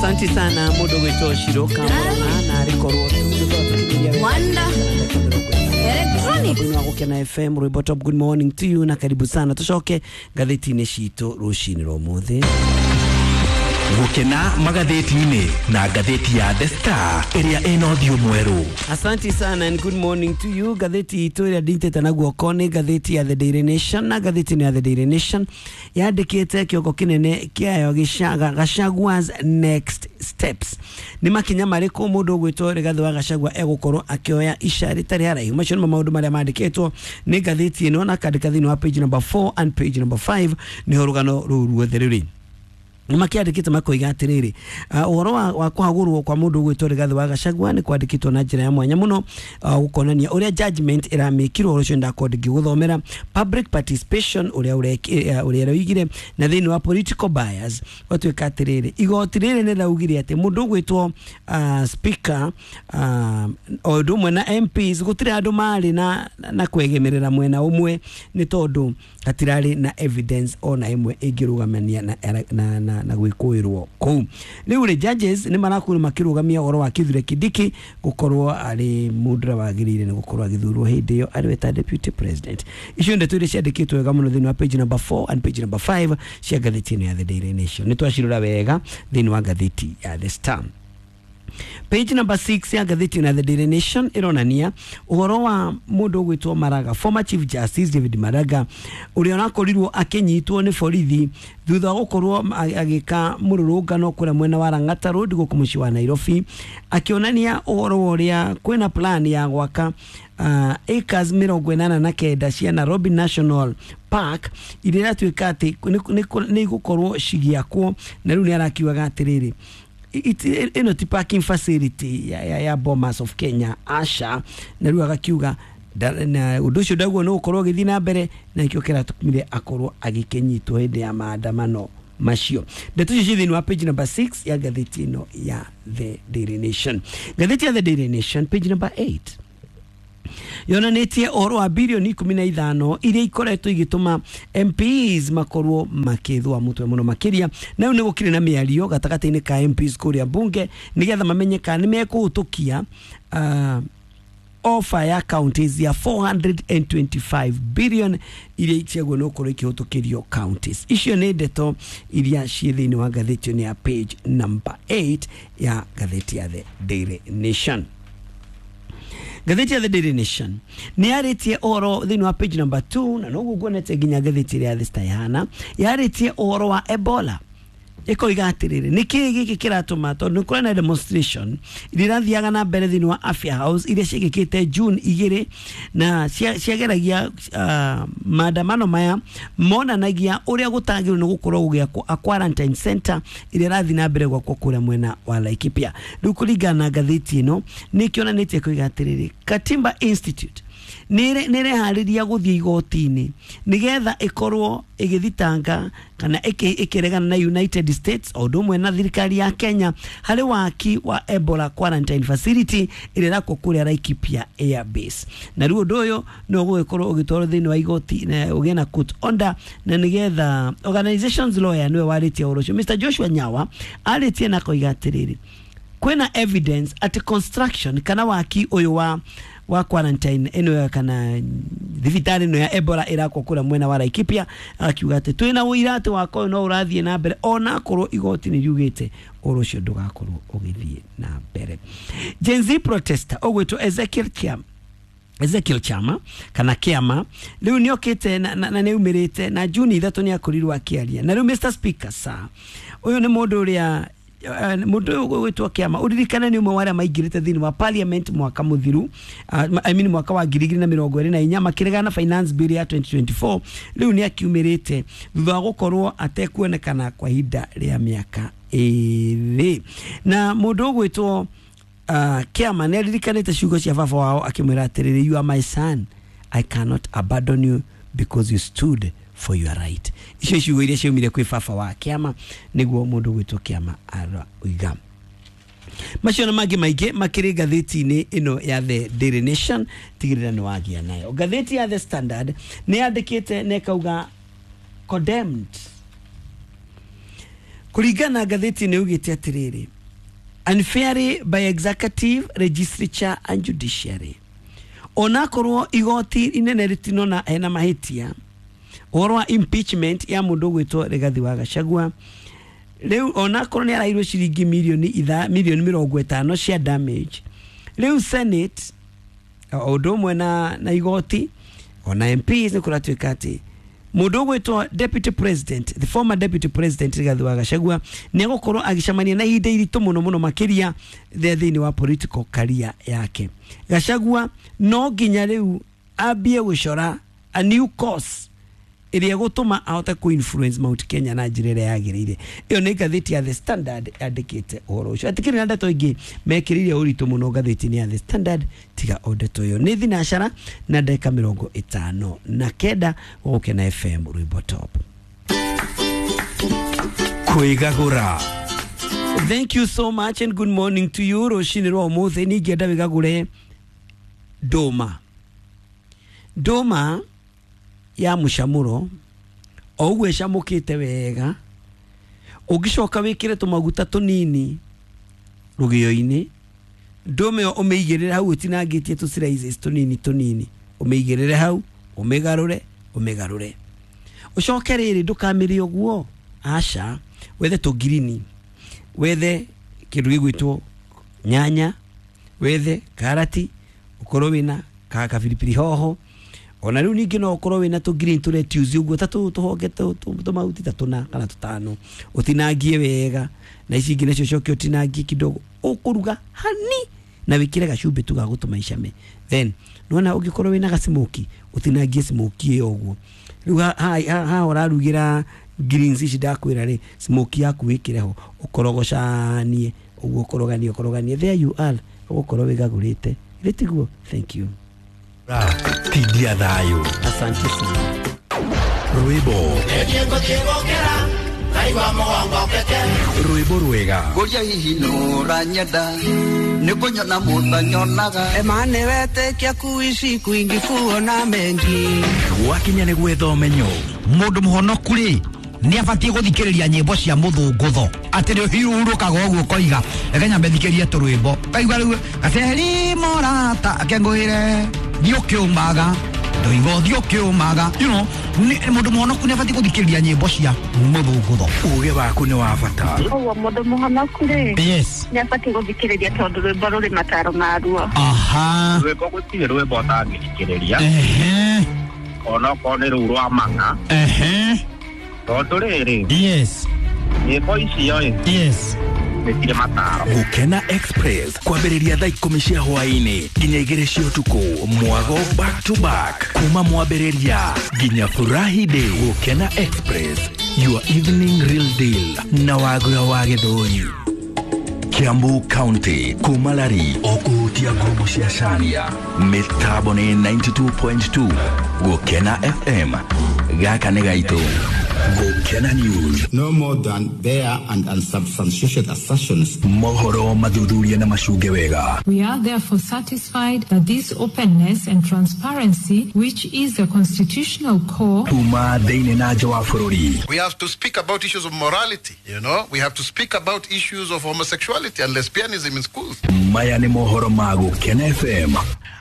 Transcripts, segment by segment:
Asante sana mundu gwitwo Shiro Kamona na arikorwo tu nĩ Wanda Electronics. wa Gukena FM rwimbo top. Good morning to you na karibu sana, tucoke ngathĩti-inĩ citũ rũcinĩ rwa ũmũthĩ. Gũkena magathĩti-inĩ na ngathĩti ya The Star ĩrĩa ĩna ũthiũ mwerũ. Asante sana and good morning to you. Ngathĩti itũ ĩrĩa nditĩte na guoko nĩ ngathĩti ya The Daily Nation, na ngathĩti ya The Daily Nation yandĩkĩte kĩongo kĩnene kĩayo Gachagua's next steps, nĩ makinya marĩkũ mũndũ ũgwĩtwo Rigathĩ wa Gachagua egũkorwo akĩoya ica rĩtarĩ haraihu. Macio nĩmo maũndũ marĩa mandĩkĩtwo nĩ ngathĩti ĩno, na kandĩka thĩinĩ wa page number 4 and page number 5 nĩho rũgano rũu ruothe rũrĩ. Nĩ makĩandĩkĩte makoiga atĩrĩrĩ, ũhoro wa kũhagũrwo kwa mũndũ ũgwĩtwo Rigathĩ wa Gachagua nĩ kwandĩkĩtwo na njĩra ya mwanya mũno, gũkonania ũrĩa judgment ĩramĩkirwo. Ũhoro ũcio ndakorwo ndĩngĩgũthomera. Public participation ũrĩa ũroigire na thĩinĩ wa political bias, gwatuĩka atĩrĩrĩ, igoti rĩrĩ nĩ raugire atĩ mũndũ ũgwĩtwo speaker o ũndũ ũmwe na MPs gũtirĩ andũ marĩ na kwegemerera mwena ũmwe, nĩ tondũ hatirarĩ na evidence ona ĩmwe ĩngĩrũgamania na gwĩkũĩrwo kũu. Rĩu rĩ, judges nĩ marakorwo makĩrũgamia ũhoro wa Kithure Kindiki gũkorwo arĩ mũndũ ũrĩa wagĩrĩire nĩ gũkorwo agĩthurwo hĩndĩ ĩyo arĩ we ta deputy president. Icio ndeto iria ciandĩkĩtwo wega mũno thĩinĩ wa page number 4 and page number 5 cia ngathĩti ĩno ya The Daily Nation. Nĩ twacirora wega thĩinĩ wa ngathĩti ya The Star. Page number 6 ya ngathĩti ya The Daily Nation ĩronania ũhoro wa mũndũ ũgwĩtwo Maraga, former Chief Justice David Maraga, ũrĩa ũrakorirwo akĩnyitwo nĩ borithi thutha wa gũkorwo agĩka mũrũrũngano kũrĩa mwena wa Lang'ata Road gũkũ mũciĩ wa Nairobi, akĩonania ũhoro wa ũrĩa kwĩna plan ya gwaka acres 89 cia Nairobi National Park iria iratuĩka atĩ nĩ igũkorwo cigĩakwo. Na rĩu nĩ arakiugaga atĩrĩrĩ, ĩno ti parking facility ya Bomas of Kenya, aca. Na rĩu agakiuga na ũndũ ũcio ndaguo nĩ gũkorwo ũgĩthiĩ na mbere, na nĩkĩo kĩratũmire akorwo agĩkĩnyitwo hĩndĩ ya maandamano macio. Ndeto icio ciĩ thĩinĩ wa page number 6 ya ngathĩti ĩno ya The Daily Nation. Ngathĩti ya The Daily Nation page number 8 yonanĩtie ũhoro wa birioni 15 iria ikoretwo igĩtũma MPs makorwo makĩthũa mũtwe mũno makĩria. Na rĩu nĩ gũkĩrĩ na mĩario gatagatĩ-inĩ ka MPs kũrĩa mbunge nĩgetha mamenye kana nĩ mekũhĩtũkia offer ya counties ya 425 billion iria itiagwo nĩ gũkorwo ikĩhĩtũkĩrio counties icio. Nĩ ndeto iria ciĩ thĩinĩ wa ngathĩti ĩno ya page number 8 ya ngathĩti ya The Daily Nation. Ngathĩti ya The Daily Nation nĩ yarĩtie ũhoro thĩinĩ wa page number 2, na noguo nguonete nginya ngathĩti ĩrĩa ya The Star ihana yarĩtie ũhoro wa Ebola, ĩkoiga atĩrĩrĩ, nĩ kĩĩ gĩkĩ kĩratũma, tondũ nĩ kũrĩ na demonstration iria irathiaga na mbere thĩinĩ wa Afya House iria ciĩkĩkĩte June 2, na ciageragia maandamano maya monanagia ũrĩa gũtagĩrĩirwo nĩ gũkorwo gũgĩakwo a quarantine center ĩrĩa ĩrathiĩ na mbere gwakwo kũrĩa mwena wa Laikipia. Rĩu kũringana na ngathĩti ĩno nĩ ĩkĩonanĩtie koiga atĩrĩrĩ, Katiba Institute nĩ ĩreharĩria gũthiĩ igoti-inĩ nĩgetha ĩkorwo ĩgĩthitanga kana ĩkĩregana na United States o ũndũ ũmwe na thirikari ya Kenya harĩ waki wa Ebola quarantine facility ĩrĩa ĩrakwo kũrĩa Laikipia Air Base. Na rĩu ũndũ ũyũ no ũgũgĩkorwo ũgĩtwarwo thĩinĩ wa igoti na ũgĩe na court order, na nĩgetha organizations lawyer nĩwe warĩtie ũhoro ũcio, Mr Joshua Nyawa, arĩtie na koiga atĩrĩrĩ, kwĩna evidence atĩ construction kana waki ũyũ wa quarantine ĩno kana thibitarĩ ĩno ya Ebola ĩrakwo kũrĩa mwena wa Laikipia, akiuga atĩ twĩna ũira atĩ wako ũyũ no ũrathiĩ na mbere ona akorwo igoti nĩ riugĩte ũhoro ũcio ndũgakorwo ũgĩthiĩ na mbere. Gen Z protester ũgwĩtwo Ezekiel Kiam, Ezekiel Chama kana Kiama, rĩu nĩ okĩte na nĩ aumĩrĩte na Juni 3 nĩ akorirwo akĩaria. Na rĩu, Mr Speaker sir, ũyũ nĩ mũndũ ũrĩa mũndũ ũyũ ũgwĩtwo Kĩama, ũririkane nĩ ũmwe wa arĩa maingĩrĩte thĩinĩ wa parliament mwaka mũthiru, I mean mwaka wa 2024, makĩregana na finance bill ya 2024. Rĩu nĩ akiumĩrĩte thutha wa gũkorwo atekuonekana kwa ihinda rĩa mĩaka 2. Na mũndũ ũgwĩtwo Kĩama nĩ aririkanĩte ciugo cia baba wao akĩmwĩra atĩrĩrĩ, "You are my son, I cannot abandon you because you stood for your right." Icio ciugo iria ciaumire kwĩ baba wa Kĩama, nĩguo mũndũ ũgwĩtwo Kĩama aroiga. Macio na mangĩ maingĩ makĩrĩ ngathĩti-inĩ ĩno ya The Daily Nation, tigĩrĩra nĩ wagĩa nayo. Ngathĩti ya The Standard nĩ yandĩkĩte na ĩkauga condemned. Kũringana na ngathĩti nĩ ugĩte atĩrĩrĩ, Unfairly by executive, legislature and judiciary. Onakorwo igoti inene ritinona hena mahitia ũhoro wa impeachment ya mũndũ ũgwĩtwo Rigathi wa Gachagua, rĩu onakorwo nĩ arairwo ciringi milioni 50 cia damage, rĩu Senate o ũndũ ũmwe na igoti ona MPs nĩ kũratuĩka atĩ mũndũ ũgwĩtwo deputy president, the former deputy president Rigathi wa Gachagua nĩ egũkorwo agĩcemania na ihinda iritũ mũno mũno makĩria thĩinĩ wa political career yake. Gachagua no nginya rĩu ambie gũcora a new course ĩrĩa ĩgũtũma ahote ku influence Mount Kenya na njĩra ĩrĩa yagĩrĩire. Ĩyo nĩ ngathĩti ya The Standard yandĩkĩte ũhoro ũcio. Atikĩrĩ na ndeto ingĩ mekĩrĩire ũritũ mũno ngathĩti-inĩ ya The Standard tiga o ndeto ĩyo. Nĩ thinacara na ndagĩka 59 Gũkena FM Rwĩmbo Top. Kwĩgagũra. Thank you so much and good morning to you. Rũcinĩ rwa ũmũthĩ ningĩenda wĩgagũre ndũma. Ndũma ya mũcamũro o ũguo ĩcamũkĩte wega, ũngĩcoka wĩkĩre tũmaguta tũnini rũgĩo-inĩ, ndũma ĩyo ũmĩigĩrĩre hau ũtinangĩtie tũ slices tũnini tũnini, ũmĩigĩrĩre hau, ũmĩgarũre ũmĩgarũre, ũcoke rĩrĩ ndũkamĩrĩe ũguo, aca, wethe tũngirini, wethe kĩndũ gĩgwĩtwo nyanya, wethe karati, ũkorwo wĩna kabiribiri hoho, ona rĩu ningĩ no ũkorwo wĩna tũ green tũ lettuce ũguo ta tũhonge tũmahuti ta tũna kana tũtano, ũtinangie wega, na ici ingĩ nacio ũcoke ũtinangie kidogo, ũkũruga hani na wĩkĩre gacumbĩ tu ga gũtũma icame. Then nĩwona ũngĩkorwo wĩna gacimoki ũtinangie smoki ĩyo ũguo. Rĩu haha ũrarugĩra greens ici ndakwĩra rĩ, smoki yaku wĩkĩre ho, ũkorogocanie ũguo, ũkoroganie ũkoroganie, there you are, ũgũkorwo wĩgagũrĩte. Githĩ tiguo? Thank you. Tindia thayũ. Asante sana. Rwĩmbo. Rwĩmbo rwega. Ngũria hihi nũranyenda nĩ kũnyona mũtanyonaga. Emane wetĩkia kuishi kwingi kuona mengi. Gwakinya nĩ gwetha ũmenyo. Mũndũ mũhonoku rĩ nĩ abatiĩ gũthikĩrĩria nyĩmbo cia mũthũngũtho atĩ nĩ ũhurũkaga ũguo ũkoiga reke nyambe thikĩrie tũrwĩmbo, kaigua rĩu gaceri morata akengũĩre thiĩ ũkĩũmaga ndoiga ũthiĩ ũkĩũmaga, you know, mũndũ mũhonoku nĩ abatiĩ gũthikĩrĩria nyĩmbo cia mũthũngũtho. Ũgĩ waku nĩ wa bata. Ũguo mũndũ mũhonoku rĩ, yes, nĩ abatiĩ gũthikĩrĩria tondũ rwĩmbo rũrĩ mataro maruo. Aha. Rwĩmbo gũtirĩ rwĩmbo ũtangĩthikĩrĩria. Ehe. Onokorwo nĩ rũu rwa mang'a. Ehe. Tondũ rĩrĩ, yes, nyĩmbo icio ĩ, yes, nĩ mataro. Gũkena Express kwambĩrĩria thaa 10 cia hwaĩ-inĩ nginya 2 cia ũtukũ, mwago back to back kuma mwambĩrĩria nginya Furahi Day. Gũkena Express, your evening real deal na Wagura wa Gĩthũri. Kiambu County kuma Lari ũkũhutia ngumo cia Caria. Mĩtambo nĩ 92.2 Gũkena FM. Gaka nĩ gaitũ. Gũkena News. No more than bare and unsubstantiated assertions. Mohoro mathuthuria na macunge wega. We are therefore satisfied that this openness and transparency, which is the constitutional core. Kuma thĩinĩ na nja wa bũrũri. We have to speak about issues of morality, you know. We have to speak about issues of homosexuality and lesbianism in schools. Maya nĩ mohoro ma Gũkena FM.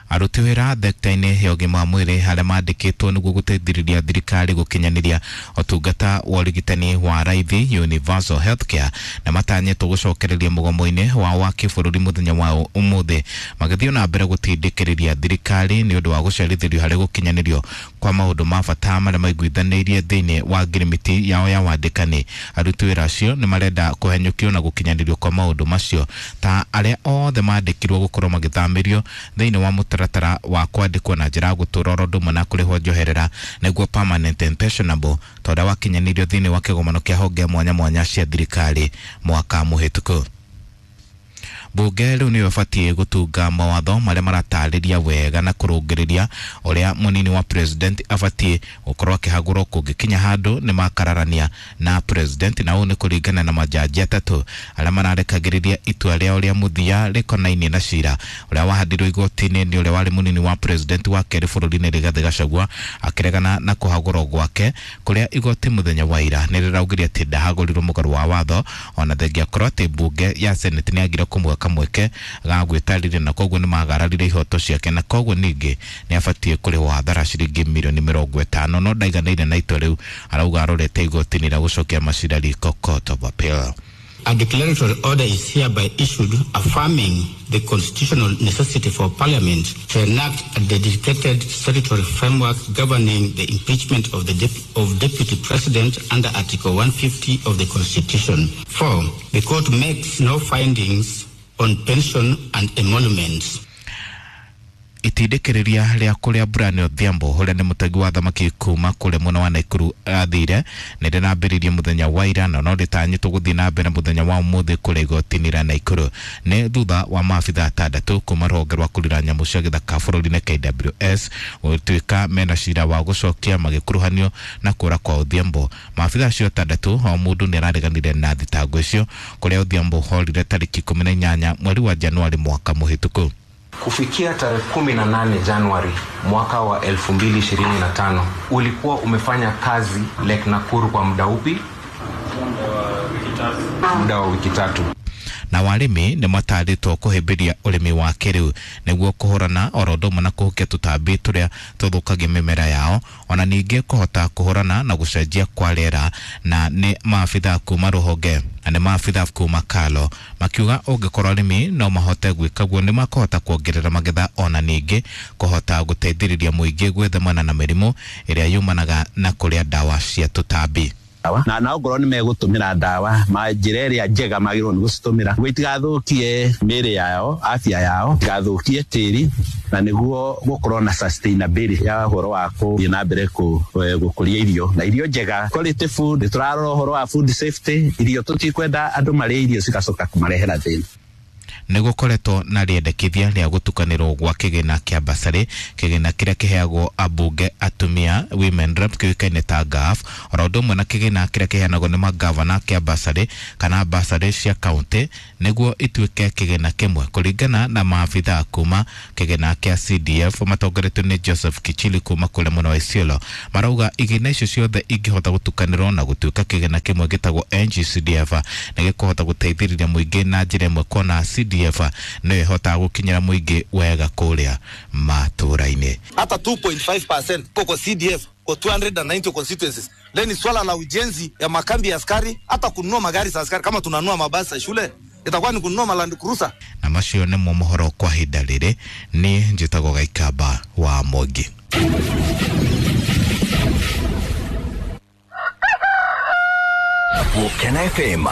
Aruti wĩra thekta-inĩ ya ũgima wa mwĩrĩ harĩa mandĩkĩtwo nĩguo gũteithĩrĩria thirikari gũkinyanĩria ũtungata wa ũrigitani wa raithi universal healthcare na matanyĩtwo gũcokereria mũgomo-inĩ wao wa kĩbũrũri mũthenya wa ũmũthĩ magĩthiĩ na mbere gũtindĩkĩrĩria thirikari nĩ ũndũ wa gũcerithĩrio harĩ gũkinyanĩrio kwa maũndũ ma bata marĩa maiguithanĩirie thĩinĩ wa ngirimiti yao ya wandĩkani. Aruti wĩra acio nĩ marenda kũhenyũkio na gũkinyanĩrio kwa maũndũ macio ta arĩa othe mandĩkirwo gũkorwo magĩthamĩrio thĩinĩ wa mũtaratara wa kwandĩkwo na njĩra ya gũtũũra oro ũndũ ũmwe na kũrĩhwo njoherera nĩguo permanent and pensionable ta ũrĩa wakinyanĩirio thĩinĩ wa kĩgomano kĩa honge mwanya mwanya cia thirikari mwaka mũhĩtũku. Bunge rĩu nĩyo ĩbatiĩ gũtunga mawatho marĩa maratarĩria wega na kũrũngĩrĩria ũrĩa mũnini wa president abatiĩ gũkorwo akĩhagũrwo kũngĩkinya handũ nĩ makararania na president, na ũũ nĩ kũringana na majaji atatũ arĩa mararekagĩrĩria itua rĩao rĩa mũthia rĩkonainie na cira ũrĩa wahandirwo igoti-inĩ nĩ ũrĩa warĩ mũnini wa president wa kerĩ bũrũri-inĩ Rigathĩ Gachagua akĩregana na kũhagũrwo gwake kũrĩa igoti mũthenya wa ira nĩ rĩraugire atĩ ndahagũrirwo mũgarũ wa watho, ona thengia korwo atĩ mbunge ya senate nĩ yagire kũmũhe kamweke ga gwĩtarĩria na koguo nĩ magararire ihoto ciake na koguo ningĩ nĩ abatiĩ kũrĩhwo hathara ciringi mirioni 50, no ndaiganĩire na itua rĩu, arauga arorete igoti-inĩ rĩa gũcokia macira riko Court of Appeal. A declaratory order is hereby issued affirming the constitutional necessity for Parliament to enact a dedicated statutory framework governing the impeachment of the Deputy President under Article 150 of the Constitution. 4. The court makes no findings on pension and emoluments. Itindĩkĩrĩria rĩa kũrĩa Brian Odhiambo ũrĩa nĩ mũtegi wa thamaki kuma kũrĩa mwena wa Nakuru athire nĩ rĩrambĩrĩirie mũthenya wa ira na no rĩtanyĩtwo gũthiĩ na mbere mũthenya wa ũmũthĩ kũrĩa igoti-inĩ rĩa Nakuru nĩ thutha wa maabitha atandatũ kuma rũhonge rwa kũrira nyamũ cia gĩthaka bũrũri-inĩ KWS gũtuĩka mena cira wa gũcokia magĩkuruhanio na kũra kwa Odhiambo. Maabitha acio atandatũ o mũndũ nĩ arareganire na thitango icio kũrĩa Odhiambo horire tarĩki 18 mweri wa Januari mwaka mũhĩtũku. Kufikia tarehe 18 Januari mwaka wa 2025, ulikuwa umefanya kazi Lake Nakuru kwa muda upi? Muda wa wiki tatu. Na warĩmi nĩ matarĩtwo kũhĩmbĩria ũrĩmi wa kĩrĩu nĩguo kũhũrana oro ũndũ ũmwe na kũhukia tũtambi tũrĩa tũthũkagia mĩmera yao, ona ningĩ kũhota kũhũrana na gũcenjia kwa rĩera. Na nĩ maabitha kuma rũhonge na nĩ maabitha kuma Kalo makiuga ũngĩkorwo arĩmi no mahote gwĩka guo nĩ makũhota kuongerera magetha ona ningĩ kũhota gũteithĩrĩria mũingĩ gwĩthemana na mĩrimũ ĩrĩa yumanaga na kũrĩa ndawa cia tũtambi. Na ongorwo nĩ megũtũmĩra ndawa ma njĩra ĩrĩa njega magĩrĩirwo nĩ gũcitũmĩra nĩguo itigathũkie mĩĩrĩ yao, afya yao, itigathũkie tĩri, na nĩguo gũkorwo na sustainability ya ũhoro wa gũthiĩ na mbere gũkũria irio na irio njega, quality food. Nĩ tũrarora ũhoro wa food safety, irio tũtikwenda andũ marĩe irio cigacoka kũmarehera thĩna. Nĩ gũkoretwo na rĩendekithia rĩa gũtukanĩrwo gwa kĩgĩna kĩa basarĩ, kĩgĩna kĩrĩa kĩheagwo ambunge atumia women rep kĩũĩkaine ta GAF, oro ũndũ ũmwe na kĩgĩna kĩrĩa kĩheanagwo nĩ magavana kĩa basarĩ kana basarĩ cia kaunti nĩguo ituĩke kĩgĩna kĩmwe, kũringana na maabitha kuma kĩgĩna kĩa CDF matongoretio nĩ Joseph Kichili kuma kũrĩa mwena wa Isiolo. Marauga igĩna icio ciothe ingĩhota gũtukanĩrwo na gũtuĩka kĩgĩna kĩmwe gĩtagwo NGCDF nĩ gĩkũhota gũteithĩrĩria mũingĩ na njĩra ĩmwe kuona CDF nĩ ĩhotaga gũkinyĩra mũingĩ wega kũrĩa matũra-inĩ. Hata 2.5% kwa CDF kwa 290 constituencies. Leni ni swala la ujenzi ya makambi ya askari, hata kununua magari za askari. Kama tunanunua mabasi ya shule itakuwa ni kununua Land Cruiser. Na macio nĩmo mohoro kwa ihinda rĩrĩ. Nĩ njĩtagwo Gaikamba wa Mwangi. Gũkena FM.